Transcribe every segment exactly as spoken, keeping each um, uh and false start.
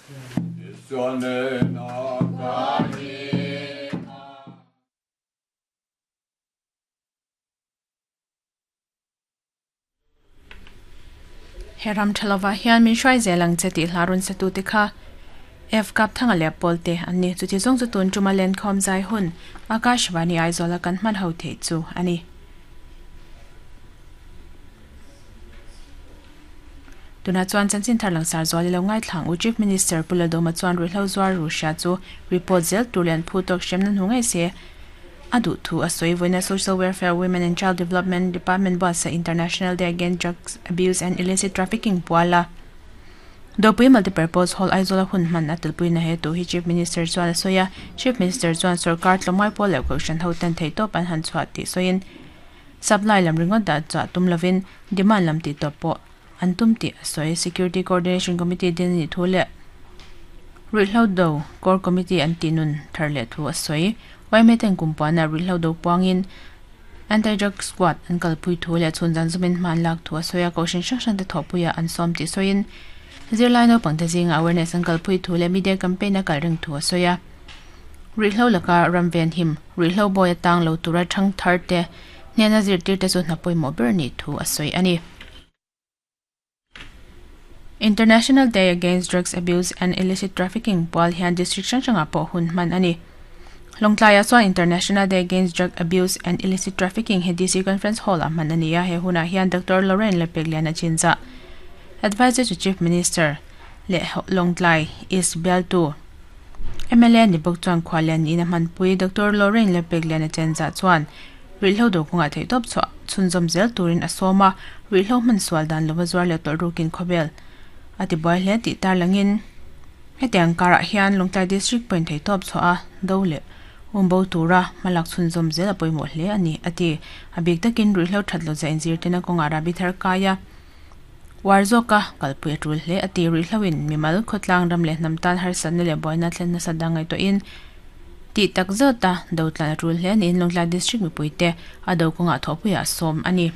Heram thalova hian min hruai zelang che tih hlarun sa tu te kha F kap thanga le polte anni chuti zong chu tun tuma len khom zai hun Akashvani Aizawl kan hman ho the chu ani tuna chuan chanchin tharlang sar zawli lo ngai thlang u Chief Minister Puladoma chuan ru hlo zuar ru sha chu report zel turlian phu tok shem nan hungai se adu thu asoi voina Social Welfare, Women and Child Development Department boss sa International Day Against Drugs Abuse and Illicit Trafficking puala Dopui Multipurpose Hall Aizawl hun man atilpui na he tu hi Chief Minister chuan asoya Chief Minister chuan sarkar tlomai pol le ko ho ten thei top an han chhuat ti soin supply lam ringot da cha tum lovin demand lam ti top po antum ti asoi Security Coordination Committee din ni thule Rihlo do Core Committee an tinun tharle thu asoi Waimeten kumpana rihlo do puangin Anti-drug squad an kalpui thu le chunjan zumin man lak thu asoya koshin shang shang te thopuya an som ti soin zirlai no pangte jing awareness an kalpui thu le media campaign a kalring thu asoya rihlo laka ramven him rihlo boy tang lo tura thang thar te nena zir tir te chu hnapoi mo ber ni thu asoi ani International Day Against Drugs Abuse and Illicit Trafficking pol hian district hrang hranga pawh hun hman ani Longtlai chuan International Day Against Drug Abuse and Illicit Trafficking he D C Conference Hall a hman ani a he huna hian Doctor Lauren Lepegliana Chinza Advisor to Chief Minister le Longtlai East Beltu M L A ni bok chuan khwalian in a hmanpui Doctor Lauren Lepegliana Chinza chuan rihlo do kunga thei top chu chhunzawm zel turin a sawma rihlo hman sual dan lova zuar le tawlh rukin khawvel ati buai hle tih tar langin hetiang karah hian Longtlai District point thei top chu a do le umbo tura malak chhunzawm zel a pawimawh hle ani ati a bik takin rihlo that lo za inzir tena kawnga rabi thar kaia warzoka kalpui a tul hle ati rihloin mimal khawtlang ram le hnam tan harsatna le buaina thlen nasa dangai tawhin ti tak zeta do tlan a tul hle niin Longtlai District mipuite a do kawnga thawhpuiah sawm ani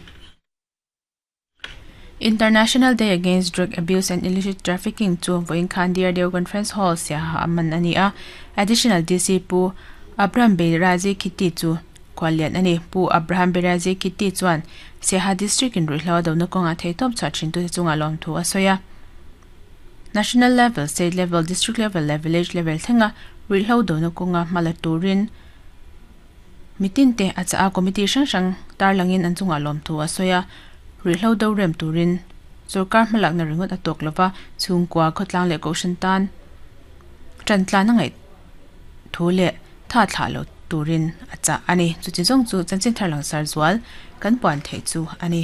International Day Against Drug Abuse and Illicit Trafficking chu voin khan D R D O Conference Hall sia aman ani a Additional D C Pu Abraham Berazi Khiti chu khwalian ani Pu Abraham Berazi Khiti chuan Siaha District in rihlo do na kawnga thei top cha thin tu chunga lom thu asoya National level, state level, district level le village level thenga rihlo do na kawnga mala turin mitin te acha a committee hrang hrang tar langin an chunga lom thu asoya rihlo do rem turin sarkar hmalak na ringot atok lova chungkwa khotlang le koshan tan tantla na ngai thu le tha thla lo turin acha ani chu chi jong chu chanchin tharlang sar zual kan puan thei chu ani.